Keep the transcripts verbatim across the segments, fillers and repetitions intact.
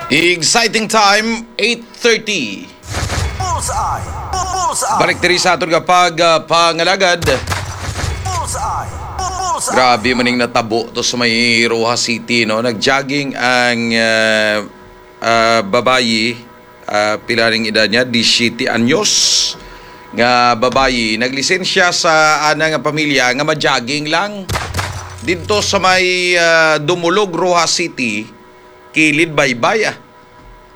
Exciting time, eight thirty. Bullseye! Bu- Bullseye! Balik diri sa aton nga pag, ah, pangalagad. Bullseye! Bu- Bullseye! Grabe maning natabo to sa may Roxas City, no? Nag-jogging ang, ah, ah, babayi, ah, pila ning edad niya? Disisiete anyos nga babayi. Naglisensya sa ana nga pamilya nga ma-jogging lang didto sa may, ah, Dumulog, Roxas City, kilid Baybay, ah.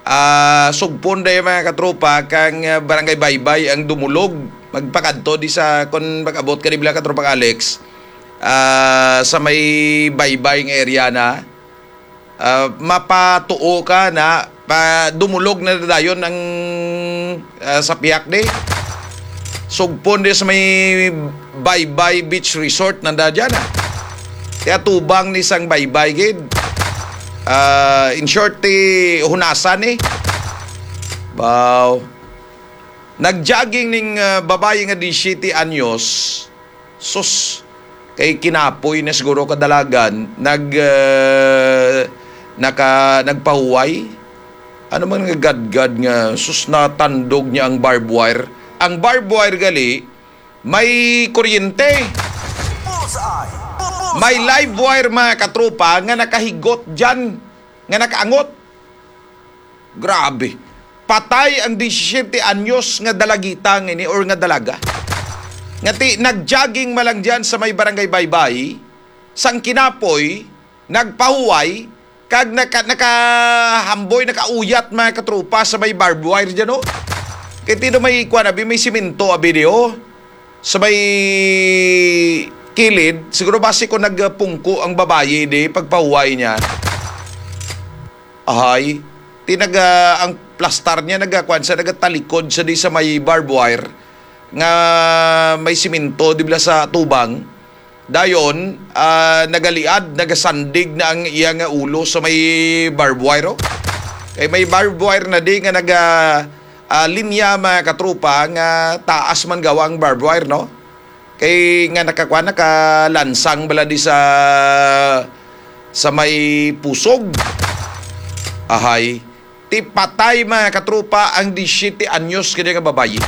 Ah, sugpon day, mga katropa, kang, ah, Barangay Baybay ang Dumulog. Magpakadto di sa, kung mag-abot ka di bala, katropang Alex, ah, sa may Baybay nga area na, ah, mapatuo ka na, pa, Dumulog na dayon ang, ah, sa pihak di. Sugpon di sa may Baybay Beach Resort nanda dyan, ah. Kaya tubang ni sang Baybay gid. Ah, in short, ti hunasan ni. Wow. Nag-jogging ning, ah, babayi nga disisiete anyos. Sus, kay kinapoy na siguro kadalagan, nag, ah, naka-, nagpahuway. Ano man nga gadgad nga, sus, natandog niya ang barbed wire? Ang barbed wire gali, may kuryente. Bullseye! Bu- Bullseye! May live wire, mga katropa, nga nakahigot dyan, nga nakaangot. Grabe. Patay ang disisiete anyos nga dalagita nga ini or nga dalaga. Nga ti, nag-jogging man lang dyan sa may Barangay Baybay, sang kinapoy, nagpahuway, kag naka-, nakahamboy, nakauyat, mga katropa, sa may barbed wire dyan, no? Kay tino may, kuwan, abi, may simento, abi, di, oh. Sa may kilid, siguro basi ko nagpungko ang babayi, di, pagpahuway niya. Ahay, ti naga-, ang plastar niya nagakuan sa, nagatalikod sa di sa may barbed wire nga may simento, di bala sa tubang. Dayon, ah, nagaliad, nagasandig na ang iya nga ulo sa may barbed wire, oh. Kay may barbed wire na di nga naga, ah, linya, mga katropa, nga taas man gawa ang barbed wire, no? Kay nga nakakuan, nakalansang bala di sa, sa may pusog. Ahay. Ti patay, mga katropa, ang disisiete anyos kini nga babayi.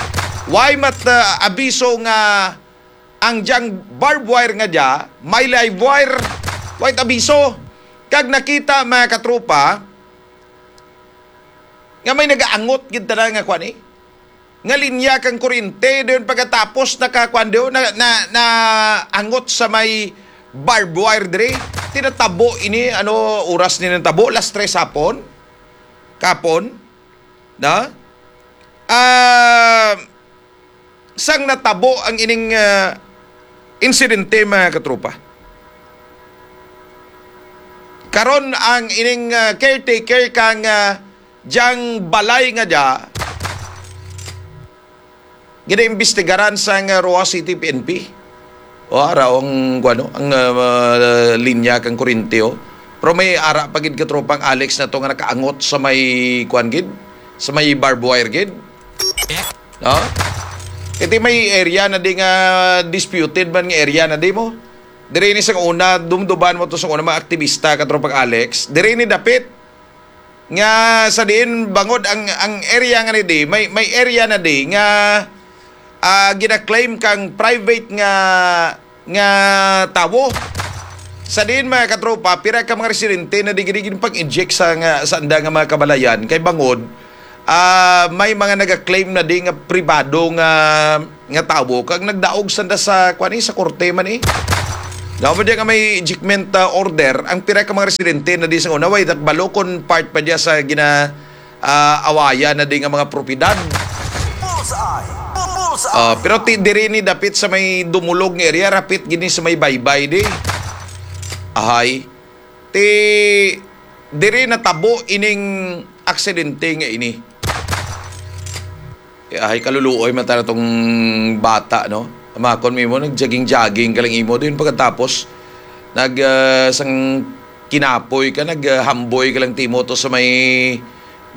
Way mat-, ah, abiso nga ang dyang barbed wire nga dya, may live wire. Way abiso. Kag nakita, mga katropa, nga may nagaangot gid tanan nga kuan, eh, nga linya kang kuryente, dayon pagkatapos nakakuan dayon, na, na, na angot sa may barbed wire diri. Ti natabo ini, ano oras ni natabo? Las tres hapon? Kapon? Na? Ah, sang natabo ang ining, ah, insidente, mga katropa. Karon ang ining, ah, caretaker kang, ah, dyang balay nga dya, ginaimbestigaran sang Roxas City P N P. O, ara ang, kuwano, ang, ah, linya kang kuryente, oh. Pero may ara pa gid, katropang Alex, na to nga nakaangot sa may, kuwan gid, sa may barbed wire gid. No? Iti may area na di nga disputed man nga area na di mo. Diri ni sang una, dumduban mo to sang una, mga aktivista, katropang Alex. Diri ni dapit nga sa diin bangod ang, ang area nga ni di, may, may area na di nga, ah, gina-claim kang private nga, nga tawo. Sa diin, mga katropa, pira ka mga residente na di gid pag-inject sa nga, sa anda nga mga kabalayan kay bangod, ah, may mga naga-claim na di nga pribado nga, nga tawo kag nagdaog sanda sa, kuan, eh, sa korte man, eh. Daw mo di nga may ejectment, ah, order ang pira ka mga residente na di sa una, way, balo kon part pa diya sa gina, ah, awayan na di nga mga propiedad. Bullseye! Bullseye! Ah, pero ti diri ni dapit sa may Dumulog nga area, rapit gini sa may Baybay di. Ahay. Ti diri natabo ining aksidente nga ini. Eh, ahay, kaluluoy man tana tong bata, no? Amakon mo imo, nag-jogging-jogging ka lang imo. Din pagkatapos, nag, ah, sang kinapoy ka, nag, ah, hamboy ka lang timo to sa may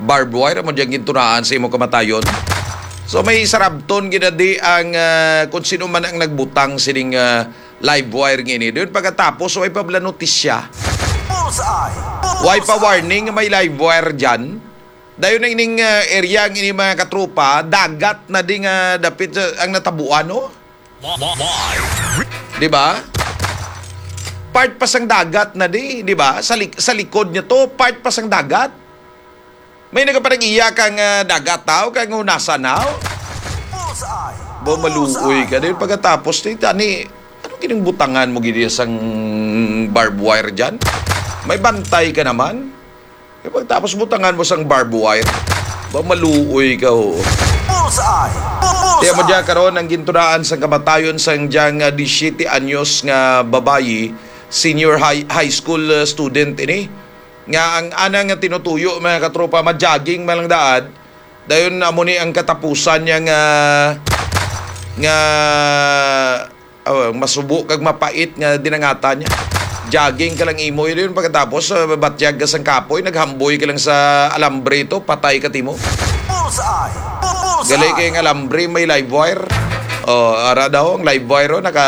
barbed wire, amo diyang gintunaan sa imo kamatayon. So, may sarabton gid na di ang, ah, kung sino man ang nagbutang sining, ah, live wire nga ini. Doon pagkatapos, way pa bala notisya. Bullseye! Bu- Why pa warning nga may live wire dyan? Dayon na ining, ah, area ang ini, mga katropa, dagat na di nga dapit, ah, ang natabuan, no? Live. Di ba? Part pa sang dagat na di, di ba? Sa lik-, sa likod niya to, part pa sang dagat. May nagapanag-iya kang, ah, dagat tao, kang hunasan na, oh. Bullseye! Ba, maluoy ka. Dahil pagkatapos, ni, tani, ano kining butangan mo gid sang barbed wire dyan? May bantay ka naman. Kaya pagkatapos, butangan mo sang barbed wire. Ba, maluoy ka, oh. Bullseye! Bullseye! Tiyan mo dyan karon ang gintunaan sang kamatayon sang dyan nga disiyete anyos nga babayi, senior high, high school, uh, student ini. Nga ang ana nga tinutuyo, mga katropa, ma-jogging man lang daad. Dayon, amo ni ang katapusan niya nga, nga, oh, masubo kag mapait nga dinangatan niya. Jogging ka lang imo, yun, pagkatapos, uh, batyag ka sang kapoy, naghamboy ka lang sa alambre to, patay ka timo. Bullseye! Bullseye! Gali kay ang alambre, may live wire. Oh, ara daw ang live wire, oh, naka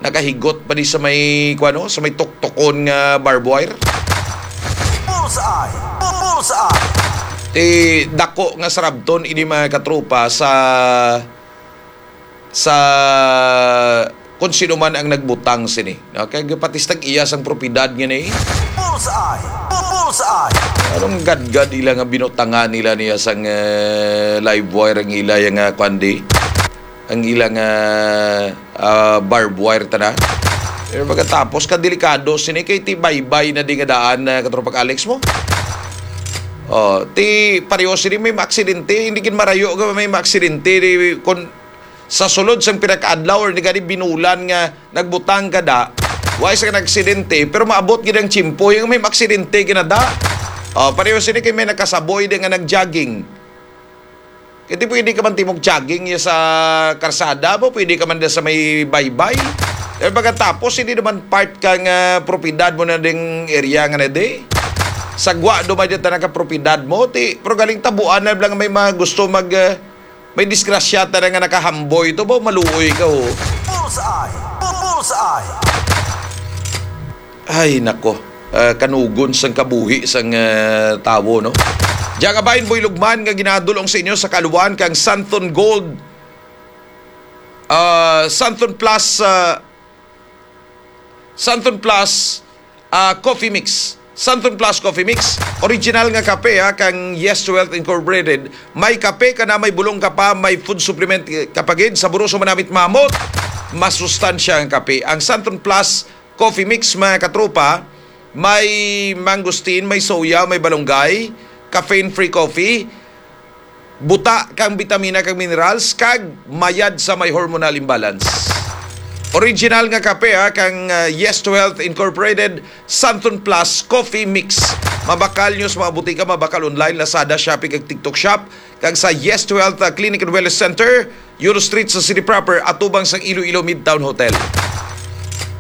nakahigot pa di sa may, kuwano, sa may tuktukon nga barbed wire. Bullseye! Bullseye! Ti dako nga sarabton ini, mga katropa, sa, sa kung sino man ang nagbutang sini. No? Kay gapatistag iya sang propiedad nga ni. Bullseye! Bullseye! Anong gadgad ila nga binutangan nila niya sang, eh, live wire ang ila yang, ah, kwandi? Ang ilang, ah, ah, barbed wire tana. Pero pagkatapos, ka delikado sini kay ti baybay na di nga daan, ah, katropang Alex mo. Oh, ti pareho sini may maaksidente, hindi gid marayo nga may maaksidente di, kun sa sulod sang pinakaadlaw or di gani binulan nga nagbutang ka da, wa sa nagaksidente, pero maabot gid ang tiyempo yung may maaksidente gid na da. Oh, pareho sini kay may nakasaboy di nga nag-jogging. Kaya di pwede ka man timog jogging ya sa karsada mo, pwede ka man da sa may baybay. Eh, pagkatapos, hindi naman part kang, ah, propiedad mo na ding area nga na di. Sagwa, duman dyan tanan ka propiedad mo, ti, pero galing tabuan na lang may mga gusto mag, ah, may disgrasya tanan nga nakahamboy to, ba, maluoy ka, oh. Bullseye! Bullseye! Ay, nako. Ah, kanugon sang kabuhi sang, ah, tawo, no? Diya nga bahin, Boy Lugman, nga ginadulong sa inyo sa kaluan kang Santon Gold, ah, Santon Plus, ah, Santon Plus, ah, Coffee Mix. Santon Plus Coffee Mix, original nga kape, ha, kang Yes to Health Incorporated. May kape ka na, may bulong ka pa, may food supplement ka pa gid, saboroso, manamit, mamot. Masustansya ang kape. Ang Santon Plus Coffee Mix, mga katropa, may mangosteen, may soya, may balunggay, caffeine-free coffee, buta kang bitamina kag minerals, kag mayad sa may hormonal imbalance. Original nga kape, ha, kang, uh, Yes to Health Incorporated, Santon Plus Coffee Mix. Mabakal nyo sa mga butika, mabakal online, Lazada, Shopee, kag TikTok Shop, kag sa Yes to Health, uh, Clinic and Wellness Center, Euro Street sa City Proper, atubang sang Iloilo Midtown Hotel.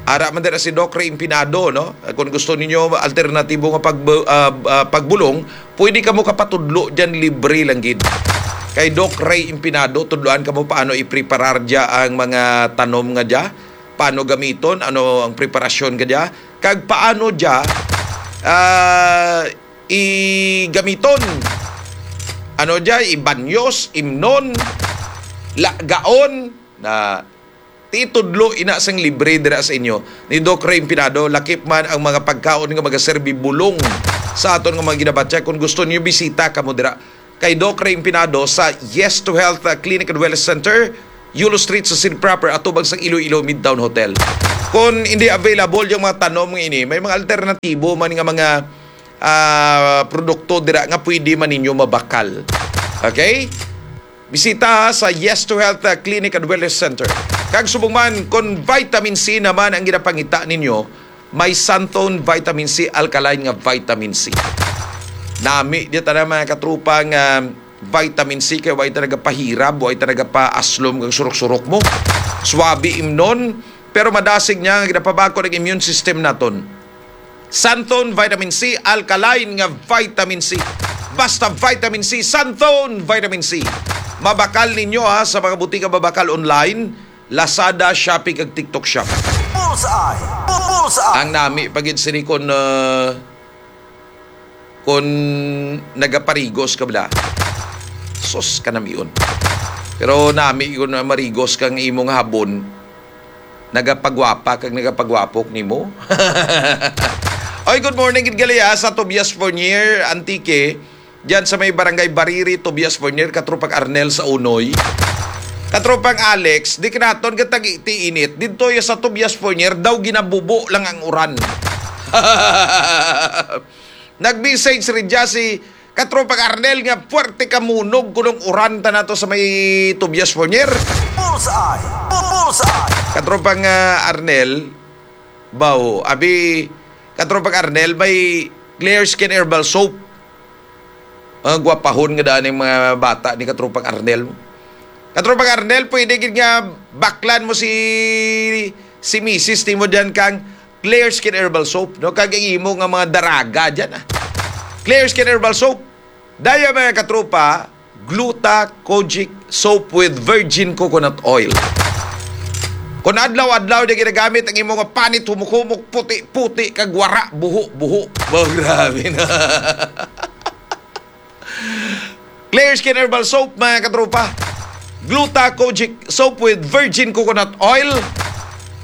Ara man dira si Doc Ray Impinado, no? Kung gusto ninyo alternatibo nga pagbu-, ah, ah, pagbulong, pwede kamo kapatudlo dyan, libre lang gid. Kay Doc Ray Impinado, tudloan kamo paano ipreparar dya ang mga tanom nga dya, paano gamiton, ano ang preparasyon ka dya, kag paano dya, ah, igamiton. Ano dya, ibanyos, imnon, lagaon, na titudlo ina sang libre dira sa inyo ni Doc Ray Impinado, lakip man ang mga pagkaon nga magaserbi bulong sa aton nga mga ginabatya. Kung gusto niyo, bisita kamo dira kay Doc Ray Impinado sa Yes to Health, uh, Clinic and Wellness Center, Yulo Street sa City Proper, atubang sa Iloilo Midtown Hotel. Kung hindi available yung mga tanom nga ini, may mga alternatibo man nga mga, ah, produkto dira nga pwede man ninyo mabakal. Okay? Bisita sa Yes to Health, uh, Clinic and Wellness Center. Kag subong man, kung vitamin C naman ang ginapangita ninyo, may Santon Vitamin C Alkaline nga vitamin C. Nami di tanan, mga katrupa, nga vitamin C kay way ta nagapahirab, way ta nagapaaslom kag surok-surok mo. Swabe imnon, pero madasig niya nga ginapabakod ang immune system naton. Santon Vitamin C, alkaline nga vitamin C. Basta vitamin C, Santon Vitamin C. Mabakal ninyo, ha, sa mga butika mabakal online, Lazada, Shopee, kag TikTok Shop. Bullseye! Bullseye! Ang nami pa gid sini kon, ah, kon nagaparigos ka bala. Sus, kanamion. Pero nami kon marigos kang imong habon, nagapagwapa kag nagapagwapok nimo. Oy, good morning gid gali, ah, sa Tobias Fornier, Antique. Diyan sa may Barangay Bariri, Tobias Fornier, Katropang Arnel sa Unoy. Katropang Alex, di ka naton gatag-, ti init. Didto ya sa Tobias Fornier, daw ginabubo lang ang uran. Nag-message rin dya si Katropang Arnel nga puwerte ka munog kunong uran ta nato sa may Tobias Fornier. Bullseye! Bullseye! Katropang, ah, Arnel, baw, abi, Katropang Arnel, may Clear Skin Herbal Soap. Ang gwapahon nga daan ang mga bata ni Katropang Arnel. Katropang Arnel, pwede gid nga baklan mo si, si misis nimo diyan kang Clear Skin Herbal Soap, no? Kag ang imo nga mga daraga diyan, ah. Clear Skin Herbal Soap. Daya, mga katropa, Gluta Kojic Soap with Virgin Coconut Oil. Kung adlaw-adlaw di ginagamit ang imo nga panit, humok-humok, puti-puti, kag wara, buho-buho. Ba, grabe na. Clear Skin Herbal Soap, mga katropa. Gluta Kojic Soap with Virgin Coconut Oil.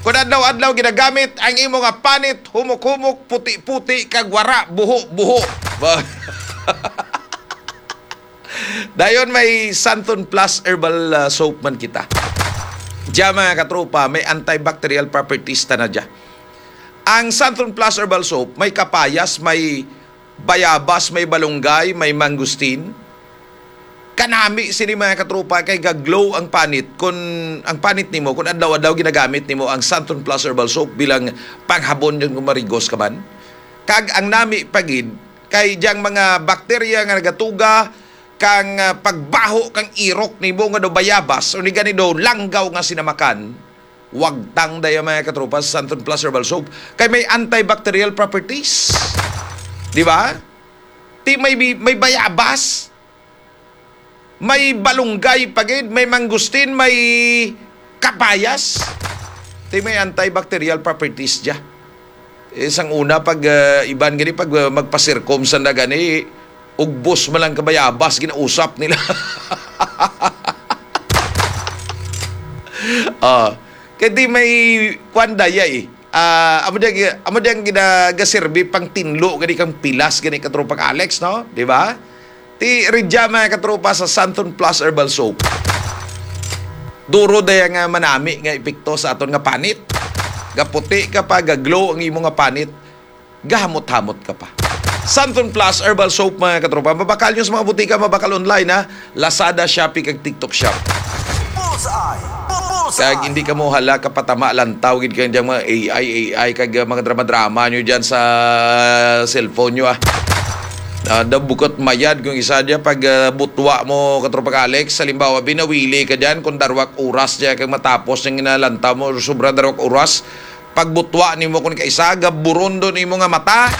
Kung adlaw-adlaw ginagamit ang imo nga panit, humok-humok, puti-puti, kag wara, buho-buho. Ba- Dayon may Santon Plus Herbal, ah, Soap man kita. Diya, mga katropa, may antibacterial properties ta na diya. Ang Santon Plus Herbal Soap may kapayas, may bayabas, may balunggay, may mangustin. Kanami sini, mga katropa, kay gaglow ang panit. Kun ang panit nimo, kun adlaw-adlaw ginagamit nimo ang Santon Plus Herbal Soap bilang panghabon, yun kung marigos ka man. Kag ang nami pa gid, kay diyang mga bakterya nga nagatuga kang, ah, pagbaho kang irok nimo nga do bayabas, o ni gani do langgaw nga sinamakan, wagtang daya, mga katropa, sa Santon Plus Herbal Soap. Kay may antibacterial properties. Di ba? Ti may bi-, may bayabas, may balunggay pa gid, may mangustin, may kapayas. Ti may antibacterial properties dya. Eh, sang una, pag, ah, iban gani, pag, ah, magpasirkom sanda gani, ugbos man lang kabayabas, ginausap nila. Ah, kay di may kwan daya eh. Ah, amo di ang, amo di ang gina-, gaserbi pang tinlo gani kang pilas gani, katropang Alex, no? Di ba? Ti ridya, mga katropa, sa Santon Plus Herbal Soap. Duro daya nga manami nga epekto sa aton nga panit. Gaputi ka pa, gaglow ang imo nga panit, gahamot-hamot ka pa. Santon Plus Herbal Soap, mga katropa. Mabakal nyo sa mga butika, mabakal online, ha? Lazada, Shopee, kag TikTok Shop. Bullseye! Bullseye! Kag hindi ka mo hala kapatama, lantaw gid kang diyang mga A I, A I, kag, uh, mga drama-drama nyo dyan sa cellphone nyo, ah. Ah, daw bukot mayad kung isa dyan pag, uh, butwa mo, katropang Alex. Halimbawa, binawili ka dyan kung darwak oras dyan kag matapos yung inalantaw mo, sobra darwak oras. Pagbutwa nimo kun kaisa, gaburon do nimo nga mata.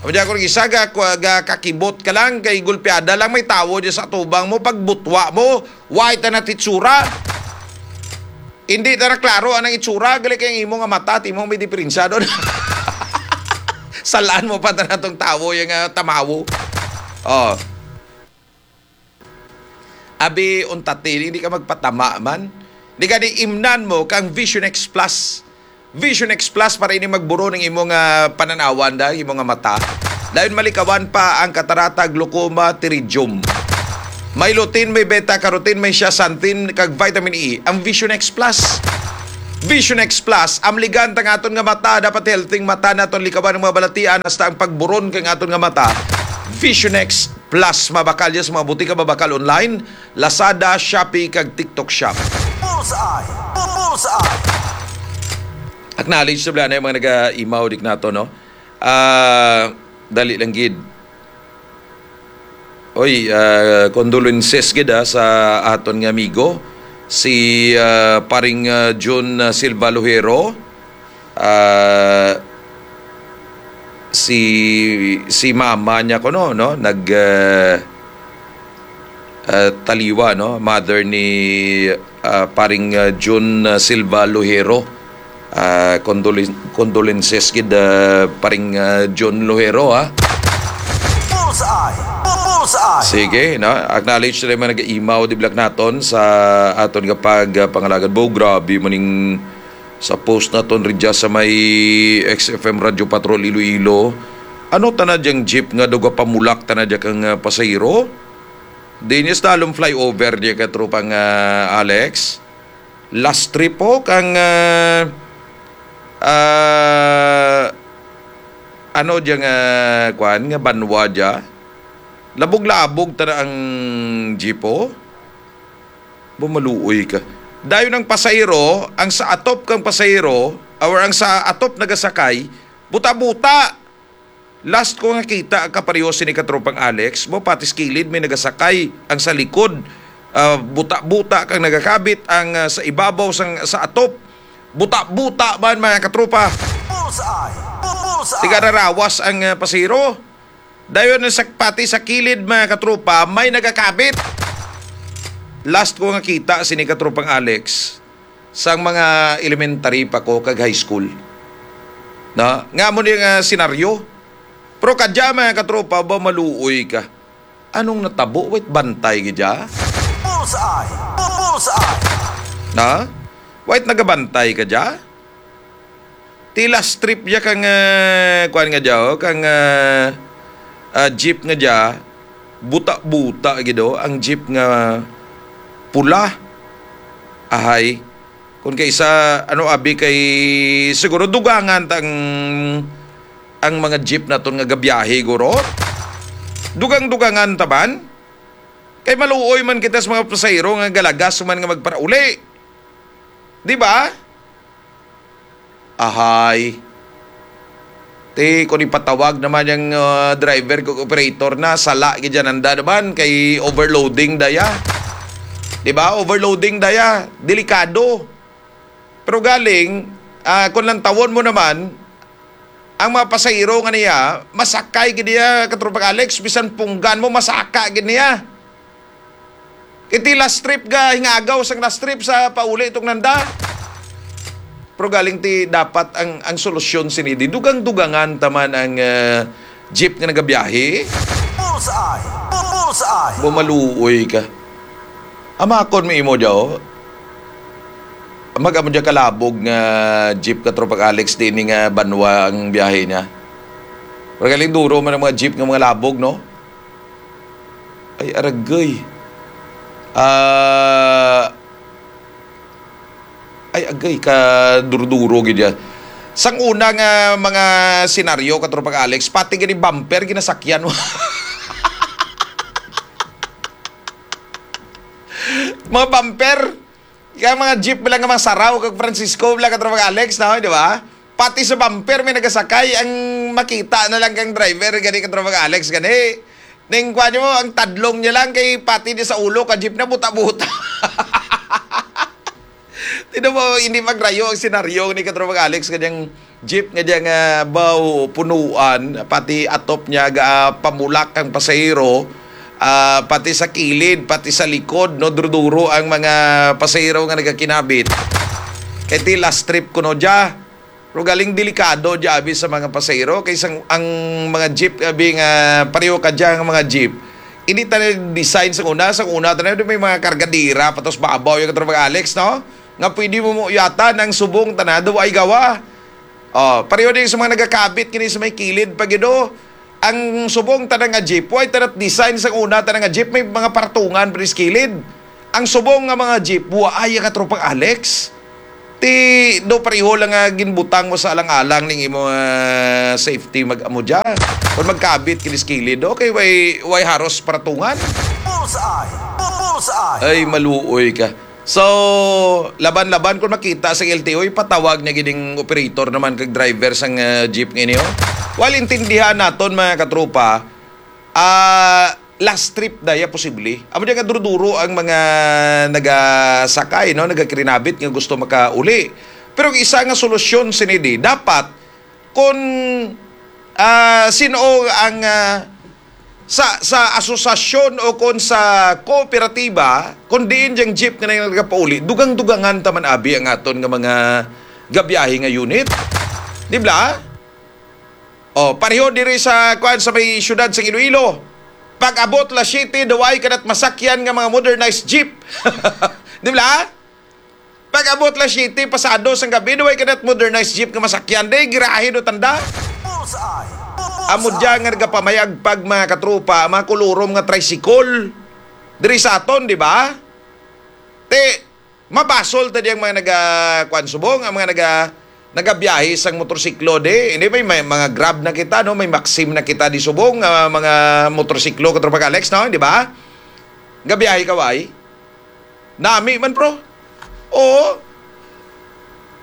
Amo dyan kun isa, ga, ga kakibot ka lang, kay gulpiada lang may tawo dyan sa atubang mo. Pagbutwa mo, way ta na titsura. Hindi ta na klaro anang itsura, gali kay ang imo nga mata, ti mo may diferensya doon. Salaan mo pa ta na tong tawo, yung, ah, tamawo. Oh. Abi, unta ti, hindi ka magpatama man. Di ka di imnan mo kang Vision X Plus. Vision X Plus para ini magburo ning imo nga pananawan da, imo nga mata. Dayon malikawan pa ang katarata, glaucoma, pterygium. May lutein, may beta carotene, may zeaxanthin, kag vitamin E. Ang Vision X Plus. Vision X Plus, amligan ta nga aton nga mata, dapat healthy ang mata naton, likawan ang mga balatian, hasta ang pagburon kang aton nga mata. Vision X Plus, mabakal ya sa mga butika, mabakal online, Lazada, Shopee, kag TikTok Shop. Bullseye! Bullseye! Acknowledge sa bala na yung mga naga-imaw dik nato, no? Ah, dali lang gid. Oy, ah, condolences gid, ah, sa aton nga amigo, si, ah, paring, ah, Jun, ah, Silva Lojero. Ah, si, si mama niya kuno, no? Nag, ah, ah, taliwa, no? Mother ni, ah, paring, ah, Jun, ah, Silva Lojero. Ah, condolin-, condolences gid, ah, paring, ah, John Lohero, ha. Bullseye! Bu-, Bullseye! Sige, no? Acknowledge na naman nag-imaw, di blak naton sa aton nga pag, ah, pangalagad. Bo, grabe maning sa post naton ridya sa may X F M Radio Patrol Iloilo. Ano tana diyang jeep nga daw gapamulak tana diya kang, ah, pasahero? Dinis talong flyover diya ka tropang, ah, Alex. Last trip po kang, ah, ah, ano diya nga, kwan, nga banwa diya. Labog-labog tana ang jeep, oh. Bumaluoy ka. Dayon ang pasahero, ang sa atop kang pasahero, or ang sa atop nagasakay, buta-buta. Last ko nga kita, kapareho sini katropang Alex, mo pati sa kilid may nagasakay, ang sa likod, ah, buta-buta kang nagakabit, ang, ah, sa ibabaw sang, sa atop, buta-buta man, mga katropa. Bullseye! Bu-, Bullseye! Tigararawas ang, ah, pasahero. Dayon sa, pati sa kilid, mga katropa, may nagakabit. Last ko nga kita sini katropang Alex, sang mga elementary pa ko kag high school. Na, nga mo ni nga senaryo. Pero kadya, mga katropa, ba maluoy ka? Anong natabo? Wait, bantay ka dya? Bullseye! Bu-, Bullseye! Na? Wait, nagabantay ka dya? Ti last trip dya kang, ah, kuwan nga dya, oh, kang, ah, ah, jeep nga dya, buta-buta gid, oh, ang jeep nga pula. Ahay. Kung kay sa, ano, abi kay, siguro dugangan ta ang, ang mga jeep naton nga gabiyahe, guro. Dugang-dugangan ta man. Kay maluoy man kita sa mga pasahero nga galagas man nga magparauli. Di ba? Ahay. Ti, kung ipatawag naman yung, ah, driver kag operator na, sala gid yan anda naman, kay overloading daya. Di ba? Overloading daya. Delikado. Pero galing, ah, kung lantawon mo naman, ang mga pasahero nga niya, masakay gid niya, katropang Alex, bisan punggan mo, masaka gid niya. Iti last trip ga hingagaw sang last trip sa pauli tong nanda. Pero galing ti dapat ang, ang solusyon sini di dugang-dugangan taman ang, eh, jeep nga nagabiyahe. Bullseye! Bu-, Bullseye! Bumaluoy ka. Amakon mi imo, Joe. Mag-amo dyan kalabog nga jeep ka, Tropang Alex, di ni nga banwa ang biyahe niya. Pero galing duro man ang mga jeep nga mga labog, no? Ay, aragay. Ah, ay, agay, ka duro-duro gid yan. Sang una nga mga senaryo, Katropang Alex, pati gani bumper, ginasakyan mo. Mga bumper, kaya mga jeep lang nga mga saraw, kag Francisco, lang, Katropang Alex, no? Di ba? Pati sa bumper may nagasakay, ang makita na lang kang driver, gani, Katropang Alex, gani. Ning kuha niyo mo, ang tadlong niya lang kay pati di sa ulo ka jeep na buta-buta. Tinan mo, hindi magrayo ang senaryo ni Katropang Alex, kanyang jeep nga diya nga baw punuan, pati atop niya ga pamulak ang pasahero, ah, pati sa kilid, pati sa likod, no, duro-duro ang mga pasahero nga nagakinabit. Kay ti last trip kuno dya. Pero galing delikado dya, abi, sa mga pasahero, kay sang, ang mga jeep, abi, nga pareho ka dyan, ang mga jeep, hindi tayo design sa una. Sa una, tayo may mga kargadira, patos babaw yung Katropang Alex, no? Nga pwede mo mo yata ng subong tana, daw ay gawa. Oh, pareho din sa mga nagakabit kini sa may kilid pa gid, oh. Ang subong tana nga jeep, why tana design sa una tana nga jeep, may mga partungan pa sa kilid. Ang subong nga mga jeep, wa ay, Katropang Alex. Ti do pareho lang nga ginbutang mo sa alang-alang ning imo, ah, safety mag-amo dyan. Kung magkabit kini sa kilid, okay, way, way haros partungan. Bullseye! Bu-, Bullseye! Ay, maluoy ka. So, laban-laban kung makita sa L T O, ipatawag niya gining operator naman kag driver sang, ah, jeep nga ini, oh. Wal intindihan naton, mga katropa, ah, last trip daya posible. Amo diyan nga duro-duro ang mga nagasakay, no, nagakirinabit nga gusto makauli. Pero ang isa nga solusyon sini di, dapat kung, ah, sino ang, ah, sa, sa asosasyon o kung sa kooperatiba, kung diin diyang jeep nga nagapauli, dugang-dugangan taman abi ang aton nga mga, gabiyahe nga unit. Di ba? O, pareho diri sa, kuan, sa may siyudad sa Iloilo. Pag-abot alas siyete, daw ay kanat masakyan nga mga modernized jeep. Di ba? Pag-abot alas siyete, pasado sang gabi, daw ay kanat modernized jeep nga masakyan. Di, girahe do tanda. Bullseye! Amo dyan nga nagapamayagpag, mga katropa, mga kulurom nga tricycle. Diri sa aton, di ba? Ti, mabasol ta di ang mga naga-, kuan, subong, ang mga naga-, nagabiyahe sang motorsiklo di. Hindi, may, may mga Grab na kita, no? May Maxim na kita di subong, ah, mga motorsiklo, katropa Alex, no? Di ba? Gabiyahe ka, why? Nami man, bro. Oo.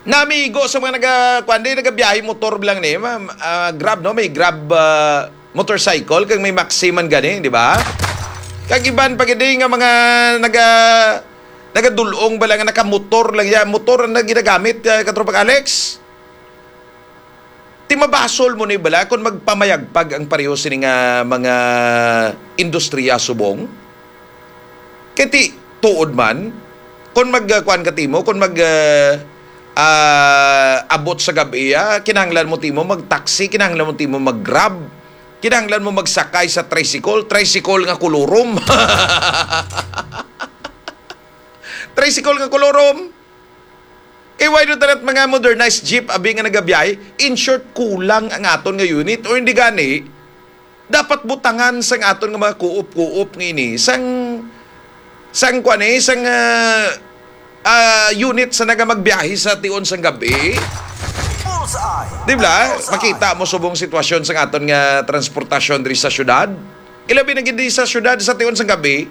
Namigo sa mga naga-, kuan di, nagabiyahe motor lang ni, ma-, ah, Grab, no? May Grab, ah, motorcycle, kag may Maxi man gani, di ba? Kag iban pa gid nga mga naga-, nagadulong bala nga nakamotor lang ya, motor ang ginagamit, ah, katropang Alex. Ti mabasol mo ni bala kung magpamayagpag ang pareho sini nga mga industriya subong? Kay ti, tuod man, kung mag, ah, kuan ka timo, kung mag, ah, ah, abot sa gab-i, ah, kinahanglan mo timo mag-taxi, kinahanglan mo timo mag-Grab, kinahanglan mo magsakay sa tricycle, tricycle nga kulurom. Tricycle nga kulurom. Kay why do tanan mga modernized jeep abi nga nagabiyahe? In short, kulang ang aton nga unit, o hindi gani, dapat butangan sang aton nga mga kuop-kuop nga ini sang, sang kuan, eh, sang, ah, ah, unit sa naga magbiyahe sa tion sang gabi. Bullseye! Di ba? Bullseye! Makita mo subong sitwasyon sang aton nga transportasyon diri sa syudad. Ilabi na gid diri sa syudad sa tion sang gabi.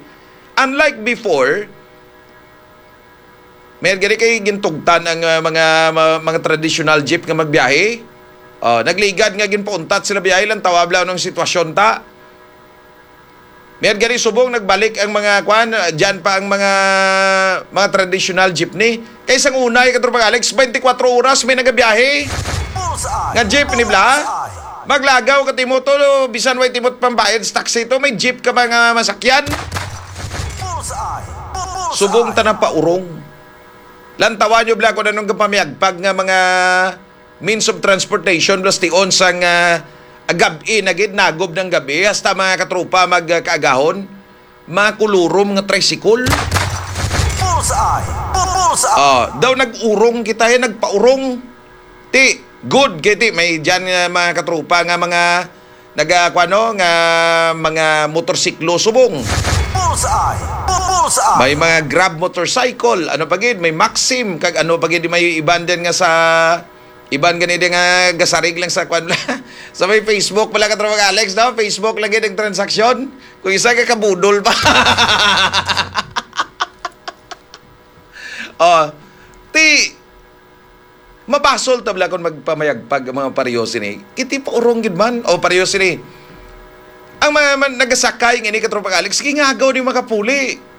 Unlike before, may gani kay gintugtan ang, ah, mga, ma-, mga traditional jeep nga magbiyahe. Oh, nagligad nga ginpauntat sila biyahe lang, tawab lang ang sitwasyon ta. May gani subong nagbalik ang mga, kuan, ah, dyan pa ang mga, mga traditional jeepney. Kay sang unay, katropang Alex, twenty-four oras may nagabiyahe. Bullseye! Nga jeep, ni bla? Bullseye! Maglagaw ka, Timoto, bisan way timot pambayad sa taxi to, may jeep ka ba nga masakyan? Bullseye! Bullseye! Subong ta na paurong. Lantawan nyo, bla, kung anong kapamiyagpag nga mga means of transportation, bla, tion sang, ah, gab-i na gid, nagob ng gabi, hasta mga katropa mag, ah, kaagahon. Mga kulurom nga tricycle. Bullseye! Bullseye! Ah, daw nag-urong kita, eh, nagpaurong. Ti, good kay ti, may dyan nga mga katropa nga mga naga, kuano, nga mga motorsiklo subong. Bullseye! Bullseye! May mga Grab motorcycle, ano pa gid, may Maxim, kag ano pa gid, may iban din nga sa, iban gani din nga gasarig lang sa, kuan lang. Sa may Facebook pala, katropang Alex, no? Facebook lang gid ang transaksyon. Kung isa ka kabudol pa. Oh, ti, mabasol ta bala kung magpamayagpag ang mga pareho sini. Kiti paurong gid man. O, pareho sini. Ang mga man, nagasakay nga ini, katropang Alex, sige nga agaw ni makapuli.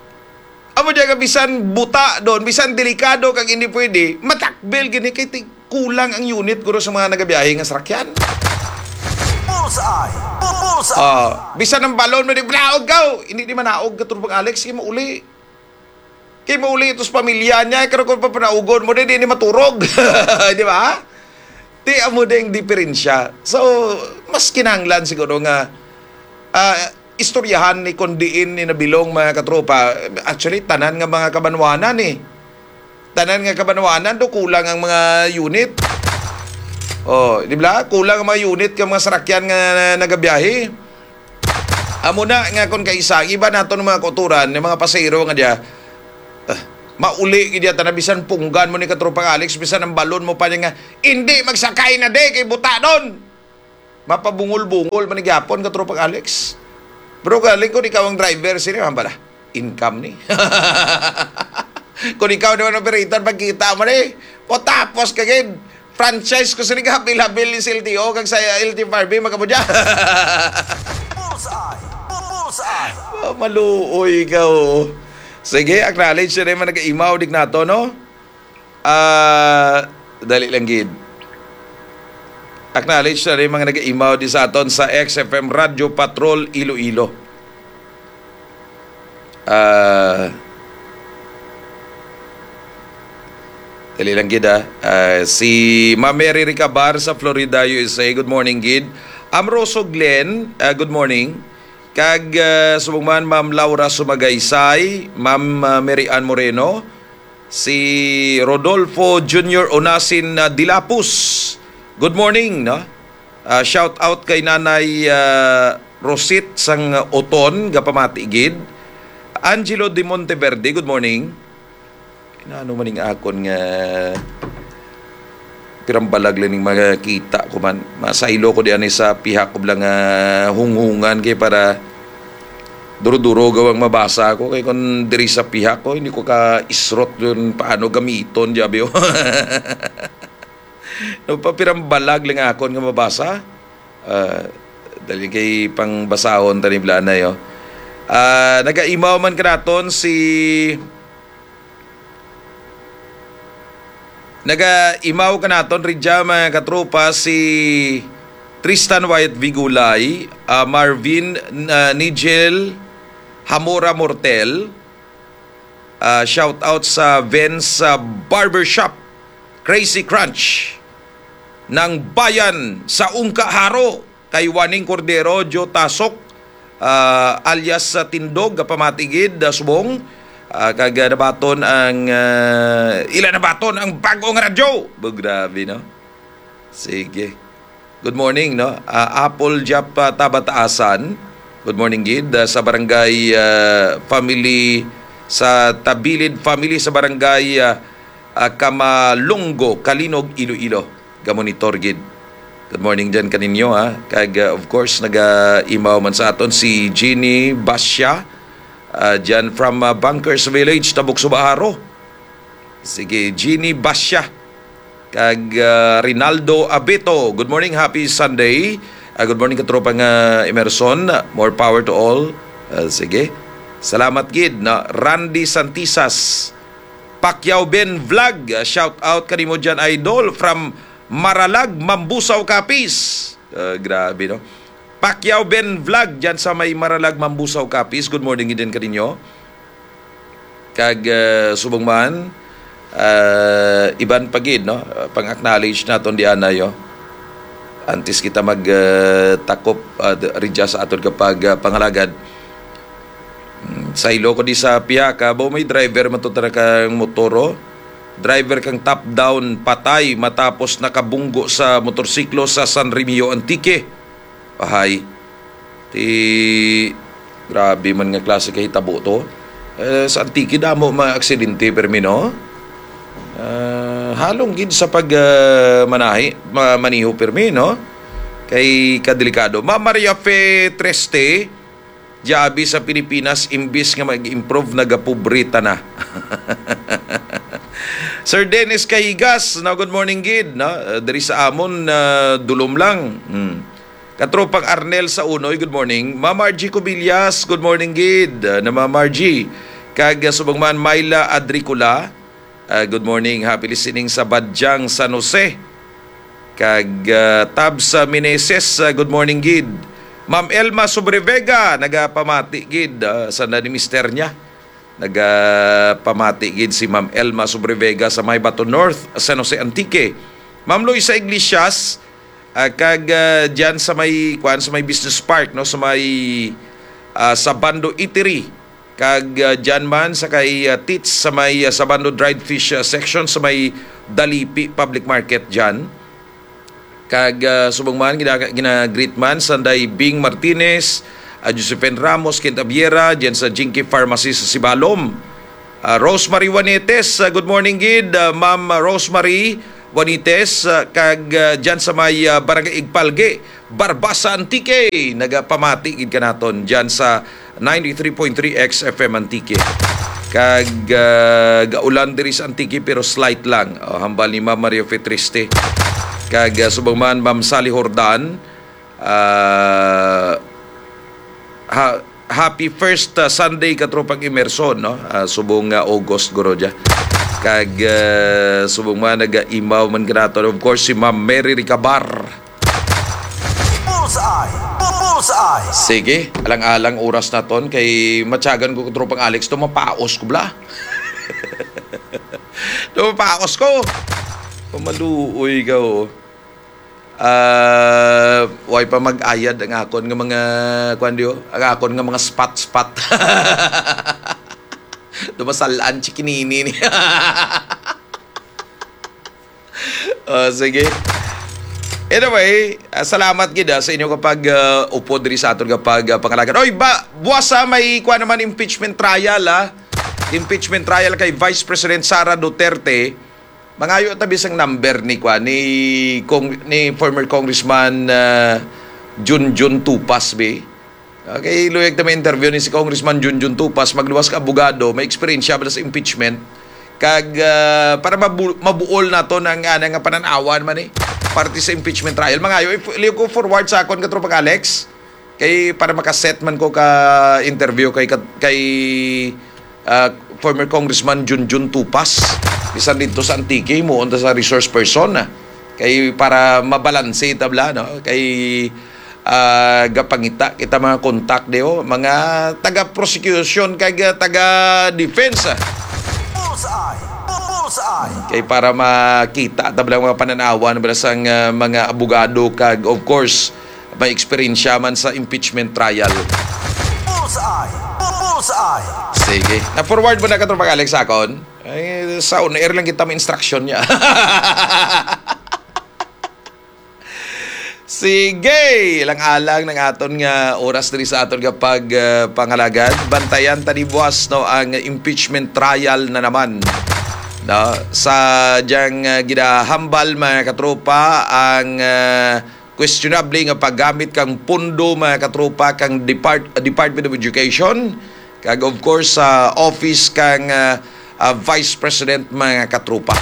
Amo diya nga bisan buta doon, bisan delikado kag hindi pwede, matakbil gini kay ti-, kulang ang unit guro sa mga nagabiyahe nga sarakyan. Bullseye! Bullseye! Ah, bisan ang balon mo di, "Manaog ka!" Hindi di manaog, katropang Alex, kay mauli. Kay mauli ito sa pamilya niya, karo kung papanaugon mo, di, di ni maturog. Di ba? Ti amo ding diferensya. So, mas kinahanglan siguro nga, ah, istoryahan ni kung diin ni nabilong, mga katropa. Actually, tanan nga mga kabanwanan, eh. Tanan nga kabanwanan, do kulang ang mga unit. Oh, di ba? Kulang ang mga unit ka mga sarakyan nga nagabiyahe. Amo na nga kung kaisa, iba nato ng mga kauturan, ng mga pasahero nga diya, ah, mauli gid diya, ta na bisan punggan mo ni katropang Alex, bisan ang balon mo pa niya nga, "Hindi magsakay na di, kay buta doon." Mapabungol-bungol man ni gyapon, katropang Alex. Pero galing kung ikaw ang driver, sino man pala? Income ni. Kung ikaw naman operator, pagkita mo ni, potapos ka gid. Franchise ko sini ka, habil-habil ni sa L T O, kag sa L T F R B, magkamo dyan. Bullseye! Bullseye! Ah, maluoy ka, oh. Sige, acknowledge na rin man nag-imaw, dig nato, no? Ah, dali lang gid. Acknowledge na rin mga nag-imaw di sa aton sa X F M Radyo Patrol Iloilo. Ah, Dali lang gid, ah. Ah, si Ma'am Mary Ricabar sa Florida, U S A. Good morning gid. Amroso Glenn, ah, good morning. Kag, ah, subong man, Ma'am Laura Sumagaysay, Ma'am, ah, Mary Ann Moreno, si Rodolfo Junior Onasin, ah, Dilapus. Good morning, no? Ah, shout out kay Nanay, ah, Rosit sang Oton, gapamati gid. Angelo de Monteverde, good morning. Ano man ning akon nga pirang balag lang ning makita ko man. Masaylo ko di ani sa pihak ko lang nga hunghungan kay para duro-duro gawang mabasa ko kay kung diri sa pihak ko hindi ko ka isrot yun paano gamiton, jabi, oh. No, pa pirang balag lang akon nga mabasa. Ah, dali kay pangbasahon tani blanay, oh. Ah, nagaimaw man kanaton si Nagaimaw kanaton ridya, mga katropa, si Tristan Wyatt Vigulay, ah, Marvin, ah, Nigel Hamora Mortel, ah, shout out sa Vince, ah, Barbershop, Crazy Crunch, ng bayan sa Ungka Haro, kay Waning Cordero, Joe Tasok, ah, alias sa Tindog, gapamati gid, ah, subong, ah, kag, ah, nabaton ang, ah, ila nabaton ang bag-ong radyo. Bo, grabe, no? Sige. Good morning, no? Ah, Apple Jap, ah, Tabataasan. Good morning gid, ah, sa barangay, ah, family, sa Tabilid family sa barangay, ah, ah, Kamalongo, Calinog, Iloilo. Gamonitor gid. Good morning dyan kaninyo, ha. Kag, ah, of course, naga-imaw man sa aton si Jeannie Basya, ah, dyan from, ah, Bunkers Village, Tabuk, Subaharo. Sige, Jeannie Basya. Kag, ah, Rinaldo Abeto, good morning, happy Sunday. Ah, good morning, katropa nga Emerson. More power to all. Ah, sige. Salamat gid, no? Randy Santisas, Pacquiao Ben Vlog, ah, shout out kanimo dyan, idol, from Maralag, Mambusaw, Capiz. Ah, grabe, no? Pacquiao Ben Vlog dyan sa may Maralag, Mambusaw, Capiz. Good morning din kaninyo. Kag, ah, subong man, ah, iban pa gid, no? Ah, pang-acknowledge naton di anay, oh. Antes kita mag, ah, takop, ah, d-, ridya sa aton kapag, ah, pangalagad. Hmm, saylo ko di sa pihaka, bo, may driver man to tara kang motor, oh. Driver kang top down, patay matapos nakabunggo sa motorsiklo sa San Remigio, Antique. Pahay. Ti, grabe man nga klase ka hitabo to. Eh, sa Antique, damo mga aksidente, permi, no? Ah, halong gid sa pag, ah, manahi, ma-, maniho, permi, no? Kay kadelikado. Ma Maria Fe Treste, diabi sa Pilipinas, imbis nga mag-improve, nagapobre ta na. Sir Dennis Cahigas, no, good morning gid, no? Uh, diri sa amon, uh, dulom lang. Hmm. Katropang Arnel sa Unoy, good morning. Ma'am Margie Cubillas, good morning gid, uh, na Ma'am Margie. Kag, uh, subong man, Myla Adricola, uh, good morning. Happy listening sa Badyang, San Jose. Kag, uh, Tabs, uh, Meneses, uh, good morning gid. Ma'am Elma Sobrevega, nagapamati gid, uh, sa na ni mister niya. Nagapamati gid si Ma'am Elma Sobrevega sa Maybaton North, San Jose, Antique. Ma'am Luisa Iglesias, ah, kag, ah, diyan sa may, kuan, sa may business park, no, sa may, ah, Sabando Eatery. Kag, ah, diyan man sa kay, ah, Tits sa may, ah, Sabando Dried Fish, ah, section sa may Dalipi Public Market diyan. Kag, ah, subong man, gina-, gina-greet man Sanday Bing Martinez, ah, Josephine Ramos, Kent Abiera, diyan sa Jinky Pharmacy sa Sibalom. Ah, Rosemary Juanites, ah, good morning gid, ah, Ma'am Rosemary Juanites, ah, kag, ah, diyan sa may, ah, Barangay Igpalge, Barbaza, Antique. Nagapamati gid kanaton diyan sa ninety-three point three X F M Antique. Kag, ah, gaulan diri sa Antique pero slight lang. Oh, hambal ni Ma'am Mario Fetriste. Kag, ah, subong man, Ma'am Sally Hordan, ah, ha-, happy first, ah, Sunday, katropang Emerson, no? Ah, subong nga August, guro dya. Kag, ah, subong man, nag-imaw man kanato. Of course, si Ma'am Mary Ricabar. Bullseye! Bullseye! Sige, alang-alang oras naton kay matyagan ko, katropang Alex, to mapaos ko bla. Dumapaos ko. Pamaluoy ka, oh. Ah, way pa mag-ayad ang akon nga mga, kuwan diyo, ang akon nga mga spot-spot. Dumasalaan, chikinini ni. Oh, sige. Anyway, ah, salamat gid, ah, sa inyo kapag, ah, upod diri sa aton kapag, ah, pangalagan. Oy, ba, buwas, ah, may kuwan naman impeachment trial, ah. Impeachment trial kay Vice President Sara Duterte. Mangayo ta bisang number ni kuwan, ni Cong-, ni former Congressman, ah, Junjun Tupas, be. Okay, luyag ta may interview ni si Congressman Junjun Tupas, magluwas ka abogado, may eksperyensya ba sa impeachment. Kag, ah, para mabu-, mabuol naton ang, ah, nga panan-awan man, eh, parte sa impeachment trial. Mangayo, if, liyo ko forward sa akon, katropang Alex, kay para makaset man ko ka interview kay, kay, ah, former Congressman Junjun Tupas, bisan dito sa Antique, mo unta sa resource person, ah. Kay para mabalanse tabla, no? Kay, ah, gapangita kita mga contact diyo, mga taga-prosecution kag, ah, taga-defense, ah. Bullseye! Bullseye! Kay para makita tabla mga pananawan bala sang, ah, mga abogado kag, of course, may eksperyensya man sa impeachment trial. Bullseye! Bullseye! Sige. Na-forward mo na, katropang Alex, akon? Ay, sa on-air lang kita may instruction niya. Sige, ilang alang ng aton nga oras diri sa aton nga pag, ah, pangalagad. Bantayan ta ni buwas, no, ang impeachment trial na naman, no? Sa diyang, ah, ginahambal, mga katropa, ang, ah, questionable nga paggamit kang pondo, mga katropa, kang Depart-, Department of Education, kag of course sa office kang, ah, ah, Vice President, mga katropa.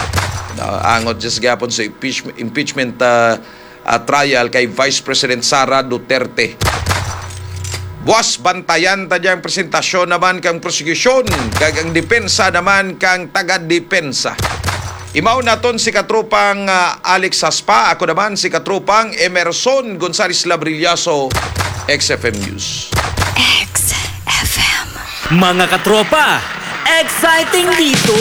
No, angot just gapon sa impeach-, impeachment, ah, ah, trial kay Vice President Sara Duterte. Buwas, bantayan ta diyang presentasyon naman kang prosekusyon kag ang depensa naman kang taga-depensa. Imaw naton si katropang, ah, Alex Haspa, ako naman si katropang Emerson Gonzalez Labrillaso, X F M News. X F M. Mga katropa, exciting dito!